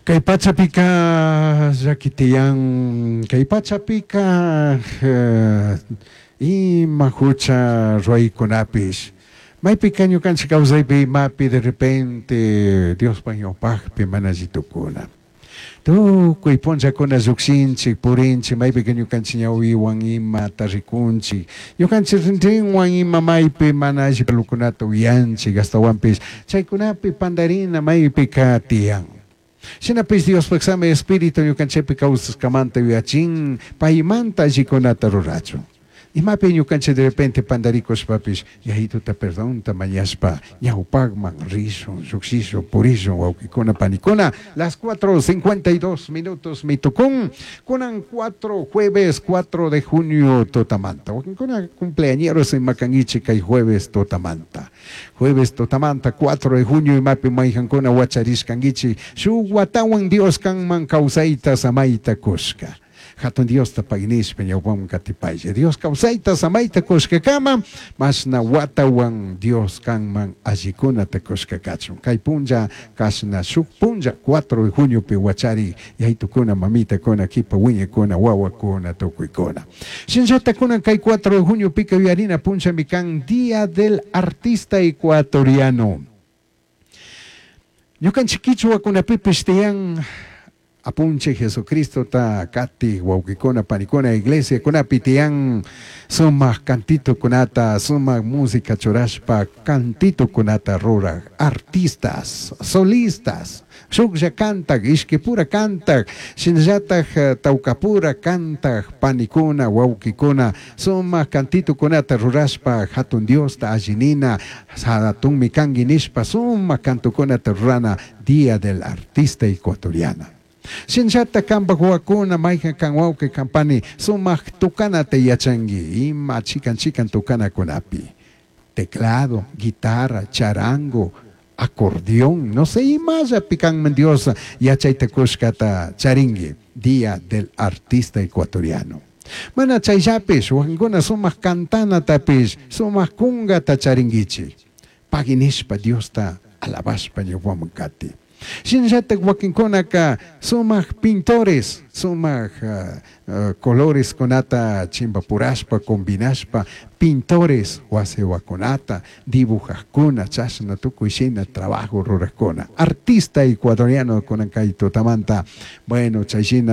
Kay pachapika llaki tiyan, kay pachapika ima hucha ruwaykunapish, maypika ñukanchik kawsaypi imapi de repente Diospaj ñawpajpi mana alli tukuna. Tukuy punllakuna llukshinchik, purinchik, maypika ñukanchik ñawiwan imata rikunchik, ñukanchik rinrinwan ima maypi mana alli parlokunata uyanchik, ashtawanpish chaykunapi pandarina maypika tiyan. Shinapish Diospaj Sami Espíritu ñukanchikpi kawsashkamanta yuyachin, paymanta allikunata rurachun. Imapi ñukanchik de repente pandarikushpapish Yayituta perdonta mañashpa ñawpakman rishun, llukshishun, purishun, wawkikuna, panikuna. Las 4:52 minutos mitukun, kunan 4 jueves 4 de junio tutamanta. Wakinkuna cumpleañeros ima kankichik kay jueves tutamanta. Jueves tutamanta 4 de junio imapi mayhankuna wacharishkankichik, shuk watawan Dios kanman kawsayta samayta kushka. Hatun Diosta pagnishpa ñawpaman katipaylla. Dios kawsayta samayta kushkakama, mashna watawan Dios kanman allikunata kushka kachun. Kay punlla kashna shuk punlla 4 de juniopi wachari yaytukuna, mamitakuna, kipa wiñakuna, wawakuna, tukuykuna. Shinallata kunan kay 4 de juniopika yuyarina punllami kan Día del Artista Ecuatoriano. Ñukanchik kichwakunapipish tiyan Apunchik Jesucristota katik wawkikuna, panikuna, iglesiakunapi tiyan sumak cantitokunata, sumak música churashpa cantitokunata ruraj artistas, solistas, shuklla kantak, ishkipura kantak, shinallatak tawkapura kantak panikuna, wawkikuna, sumak cantitokunata rurashpa hatun Diosta allinina, hatunmi kanki nishpa sumak cantokunata rurana Día del Artista Ecuatoriano. Shinallata kanpak wawakuna mayjan kan wawqi kan pani sumak tukanata yachanki ima chikan chikan tukanakunapi. Teclado, guitarra, charango, acordeón, no sé, imallapi kanman Dios yachayta kushkata charinki Día del Artista Ecuatoriano. Mana chayllapish wakinkuna sumak cantanatapish sumak kunkata charinkichik. Pagui nishpa Diosta alabashpa ñawpaman kati. Shinallatak wakinkunaka sumak pintores, sumak coloreskunata chimpapurashpa, combinashpa, pintores wasiwakunata, dibujajkuna, chashna tukuy shina trabajo rurajkuna. Artista ecuatoriano kunan kay tutamanta, bueno, chay shina.